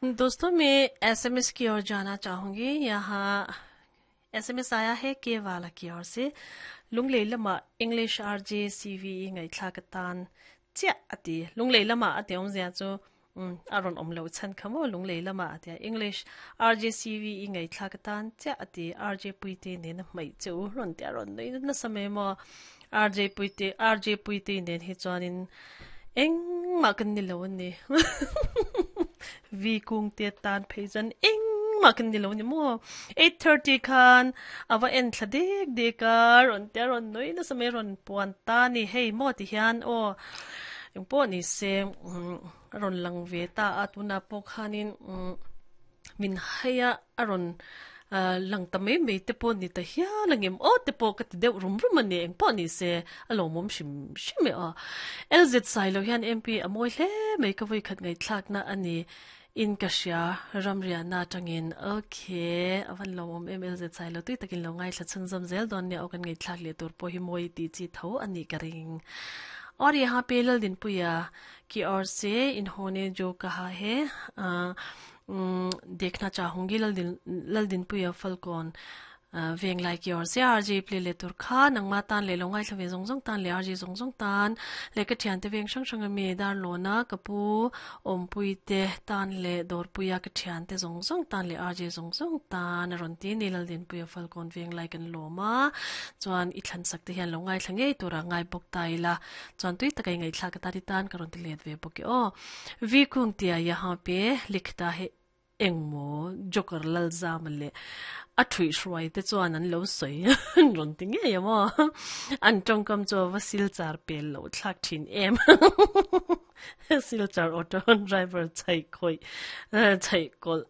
दोस्तों, मैं एसएमएस की ओर जाना चाहूंगी। यहाँ एसएमएस आया है के वाला की ओर से। Lunglei lama English RJ CV ngaithla ka tan chiah ati. Lunglei lama ati awmzia chu um a rawn awm lo chhan kha maw Lunglei lama atia English RJ CV ngaithla ka tan chiah ati RJ Puite nen a hmaih che u rawn tia rawn nui nasa mai maw RJ Puite RJ Puite nen hi chuanin engmah kan ni lo a ni. Vi kung te tan phei chuan engmah kan ni lo a ni maw. 8:30 khan a va en thla dek dek a, rawn tia rawn nui nasa mai rawn puan ta a ni. Hei maw ti hian aw engpawh ni se a rawn lang ve ta a, tunah pawh khanin min hai a, a rawn lang ta mai mai te pawh ni ta hial ang em aw te pawh ka ti deuh rum rum a ni engpawh ni se a lawmawm hrim hrim e aw. LZ Sailo hian MP a mawi hle mai ka vawikhat ngaihthlakna a ni in ka hria ramriahna atangin ok a van lawmawm em LZ Sailo tui takin lo ngaithla chhunzawm zel dawn nia aw kan ngaihthlak leh tur pawh hi mawi tih chi tho a nih ka ring. Aw ri ha pe Laldinpuia ki awr se inhone jo kaha he Dekhna chahungi Laldinpuia Falkawn Venglai ki awr se RJ play leh tur kha nangma tan leh lo ngaithla ve zawng zawng tan leh RJ zawng zawng tan leh ka thiante veng hrang hrang ami Darlawna ka pu Awmpui te tan leh Dawrpuia ka thiante zawng zawng tan leh RJ zawng zawng tan a rawn ti ni Laldinpuia Falkawn Venglai kan lawm a chuan i thlansak te hian lo ngaithla ngei tura ngai bawk ta ila chuan tui taka i ngaihthlak atan i tan ka rawn ti let ve bawk e aw. Vi Kungtia yahan pe likhta hi engmaw Joker Lalzama leh a thuihhruai te chuan an lo sawi an rawn ti ngei a maw? An tawngkam chu a va silchar pel loh thlak thin em. Silchar auto driver chhaih khawih chhaih kawlh.